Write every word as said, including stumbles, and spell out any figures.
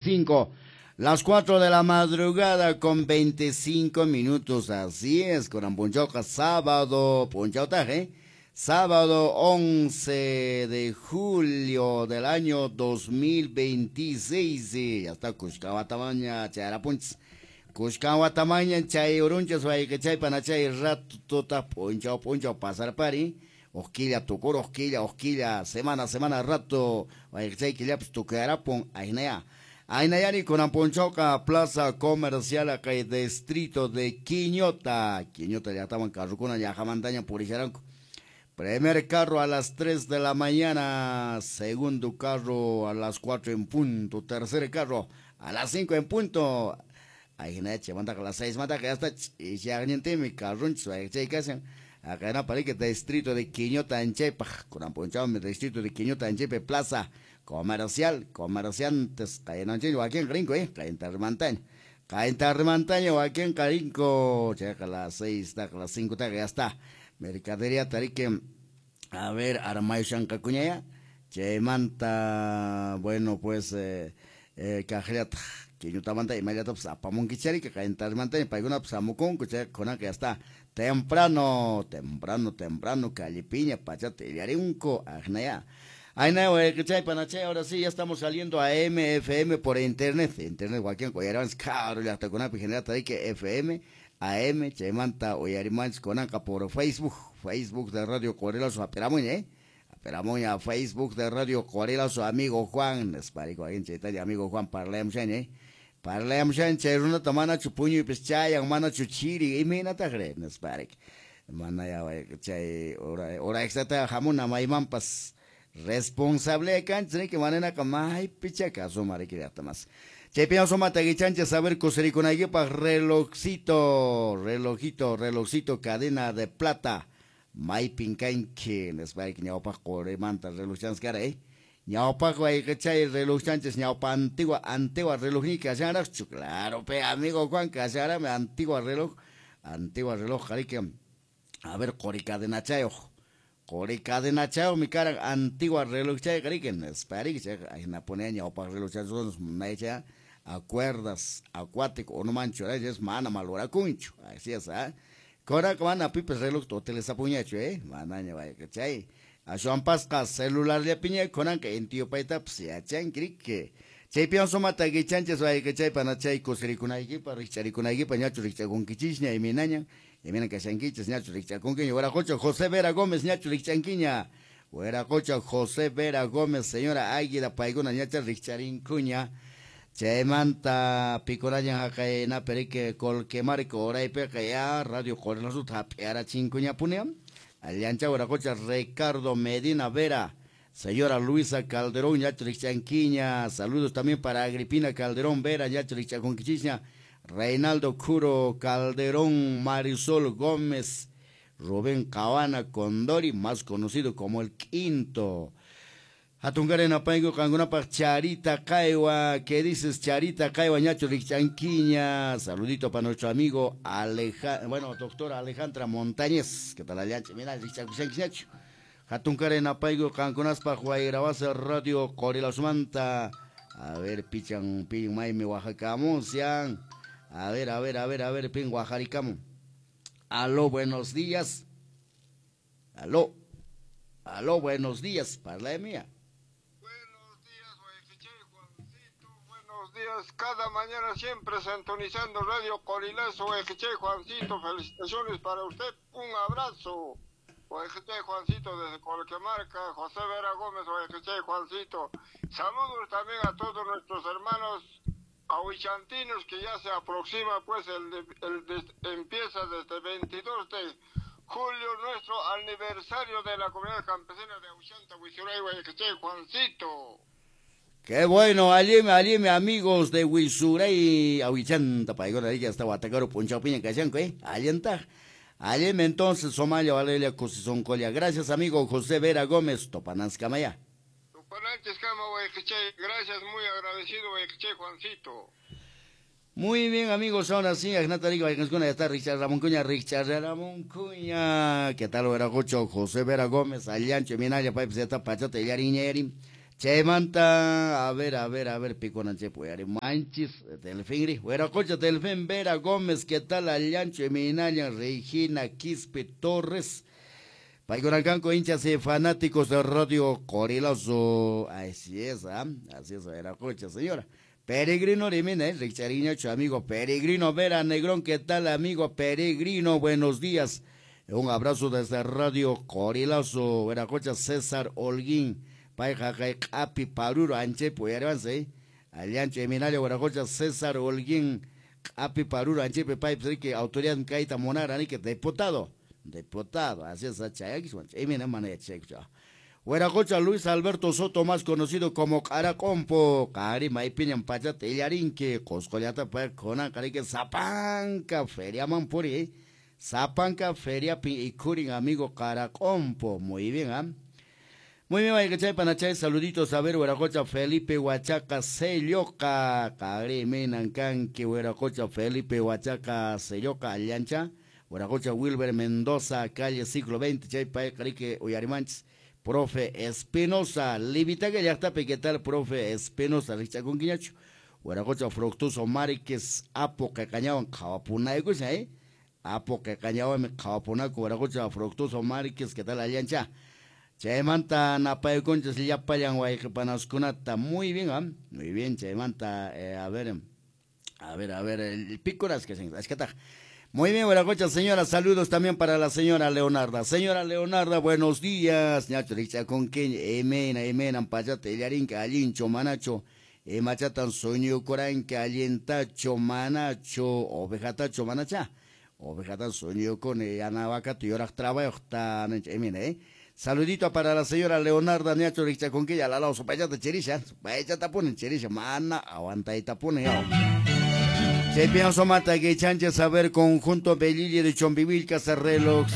Cinco. Las cuatro de la madrugada con veinticinco minutos, así es, con punchauca, sábado, punchautaje, sábado once de julio del año dos mil veintiséis, ya está Cuscahuatamaña, Chayarapunchis, Cuscahuatamaña, Chay Urunchas, Guayquechay, Panachay, rato, tota, punchau, punchau, pasar pari, Osquilla, tucur, osquilla, osquilla, semana, semana, rato, Guayquechay, Quillapis, tucarapun, ainea. Ainayani con Ponchoca, Plaza Comercial, acá el distrito de Quiñota. Quiñota ya estaban carrucuna, ya jamantaña, puricharanco. Primer carro a las tres de la mañana, segundo carro a las cuatro en punto, tercer carro a las cinco en punto. Ahí manda a las seis, manda que ya está, y ya mi carruncho, ahí acá en Aparique, distrito de Quiñota, en Chepa, con Ponchao, distrito de Quiñota, en Chepe, Plaza Comercial, comerciantes, caen aquí en Grinco, eh, caen Tarmantaña, caen Tarmantaña, aquí en Carinco, checa las seis, a las cinco, ya está, mercadería, tarique, a ver, armayo shancacuñaya, chemanta, bueno, pues, eh, eh, cajriat, quiñutamanta, y mayata, pues, apamonquichari, que caen Tarmantaña, paiguna, pues, amucunco, checa, con que ya está, temprano, temprano, temprano, calipiña, pachate, iliarinco, ajnaya. Ay, no, ahora sí, ya estamos saliendo a M F M por internet. Internet, Joaquín, Coyarán, caro, ya hasta con A P I, generata, que F M, A M, Chemanta, Oyarimanch, Conanca por Facebook, Facebook de Radio Corelazo, Aperamoña, eh. Aperamoña, Facebook de Radio Corelazo, amigo Juan, Esparico, ahí en Chetalia, amigo Juan, Parlem, eh. Parlem, Cheruna, Tamana, Chupuño, y Peschayan, Mana, Chuchiri, y Mina, Tajre, Esparic. Mana, ya, chay, hora, hora extra, jamuna, maimampas. Responsable cancha que manena kamay pichaca sumare que hasta más. Chepian soma taguichancha saber cosericonaguipa relojcito, relojito, relojcito cadena de plata. May pincainque nesbaik ñaupa coremanta reloj cara eh. Ñaupa guaychay reloj chanches ñaupa antigua antigua reloj ni casara claro pe amigo Juan casara me antigua reloj, antigua reloj jarique. A ver coricadena chayo. Cori cadena chao, mi cara antigua reloj chay, cariquen, esparic, ahí na pone ñaupa reloj chay, son a cuerdas, acuático, o no mancho, es mana malora cuncho, así es, ¿ah? Cora, mana pipes reloj, toteles apuñacho, eh, manaña, vaya, chay. A Juan Pasca, celular de piña, conan que en tío paita, pues ya chan, crique. Chay pienso mata que chanches, vaya, que chay, panachay, cosericunaiki, paricharikunaiki, pañacho, richacunquichishña, y minaña. Y miren que chanquiches, ñacho, richacunquiña, Hueracocha, José Vera Gómez, ñacho, richanquiña, Hueracocha, José Vera Gómez, señora Águila, Paiguna, ñacha, richarincuña, Chemanta, Picoraña, Jacaena, Perique, Colquemarco, Oraipeca, ya, Radio Corelazo, Tapiara, Chincuña, Punea, Aliancha, Hueracocha, Ricardo Medina Vera, señora Luisa Calderón, ñacho, richanquiña, saludos también para Agripina Calderón Vera, ñacho, richacunquichiña, Reinaldo Curo Calderón, Marisol Gómez, Rubén Cabana Condori, más conocido como el Quinto. Atungarena Paigo, Cangunapa, Charita Caiwa, ¿qué dices Charita Caiwa, ñacho Richanquiña? Saludito para nuestro amigo Aleja, bueno, doctora Alejandra Montañez, ¿qué tal Aliancha? Mira, Richanquiñacho. Atungarena Paigo, Cangunaspa, Guairabasa, Radio Corilosmanta. A ver, pichan, pin, maime, Oaxaca, Monsian. A ver, a ver, a ver, a ver, pin, Guajaricamo. Aló, buenos días. Aló, aló, buenos días, parla de mía. Buenos días, Juancito, buenos días. Cada mañana siempre sintonizando Radio Corilazo, Guayqueche, Juancito, felicitaciones para usted, un abrazo. Guayqueche, Juancito, desde Colquemarca, José Vera Gómez, Guayqueche, Juancito. Saludos también a todos nuestros hermanos ahuichantinos, que ya se aproxima, pues, el, el, el empieza desde veintidós de julio nuestro aniversario de la comunidad campesina de Ahuichanta, Huizuray, Guayqueche, Juancito. Qué bueno, alime, alime, amigos de Huizuray, Ahuichanta, paigona, ya está Guatacaro, Ponchaupiña, Cachanco, eh, alienta. Alime entonces, Somalia, Valeria, Cosisoncolia. Gracias, amigo José Vera Gómez, Topananzcamaya. Gracias, muy agradecido, Juancito. Muy bien, amigos, ahora sí, ya está Richard Ramón Cuña, Richard Ramón Cuña. ¿Qué tal, Veracocho? José Vera Gómez, Aliancho, Minaya, Paipe, Zeta, Pachata, Yariñeri. Chaymanta, a ver, a ver, a ver, pikunanchik uyari manchis, Delfín, Huiracocha, Delfín Vera Gómez, ¿qué tal? Allancho, Eminaya, Regina Quispe Torres. Paykunankanku hinchas y fanáticos de Radio Qorilazo. Así es, ¿ah? Así es, Huiracocha, señora. Peregrino Rimina, ¿eh? Richariñacho, amigo Peregrino Vera Negrón, ¿qué tal, amigo Peregrino? Buenos días. Un abrazo desde Radio Qorilazo, Huiracocha, César Holguín. Payqa kay q'api paruro anchaypi uyariwansi, allanchu Eminalia Huiracocha César Holguín q'api paruro anchaypi paypis riki autoridad kayta munara riki diputado, diputado, así es, chayakiswan, chaymi mana yachaykuchu. Huiracocha Luis Alberto Soto, más conocido como Caracompo, qari maypiñan pachata illarinki, Qusqullata pay kunanqa riki sapanka feriaman puri, sapanka feriapi ikhurin amigo Caracompo, muy bien, ¿ah? Muy bien, chay panachay, saluditos a ver, Huiracocha Felipe Huachaca Selloca, Cari Menancanqui, Huiracocha Felipe Huachaca Selloca, Allancha, Huiracocha Wilber Mendoza, calle siglo veinte, chay pay, carique, uyarimanchis, profe Espinosa, Livitaca, llaqtapi, ¿qué tal, profe Espinosa? Richacunquiñacho, Huiracocha Fructuoso Márquez, Apo, Cacañawan, Cawapunaycusha, eh, Apo, Cacañawan, Cawapunaco, Huiracocha Fructuoso Márquez, ¿qué tal, Allancha? Chaymanta napaykunchis llapallan wayqipanaskunata, muy bien, ¿eh? Muy bien, chaymanta, eh, a ver, a ver, a ver, el picoras que se ashkataq. Muy bien, Huiracocha, señora, saludos también para la señora Leonarda. Señora Leonarda, buenos días. Ñacho rich'akunkiña, imena, imenan pachata illarinki, allincho, manacho, imachatan suñukuranki, allintacho, manacho, ovejatacho, manacha. Ovejatan suñukuni, yanawakata yuraq trabayuqta, imena, eh. Saludito para la señora Leonarda Ñacho Richacunquilla, la lao supayata chirisha, supayata ponen chirisha, mana aguantayta pone ya. Se pienso mata que chanche saber conjunto Belille de Chombivilca se reloj.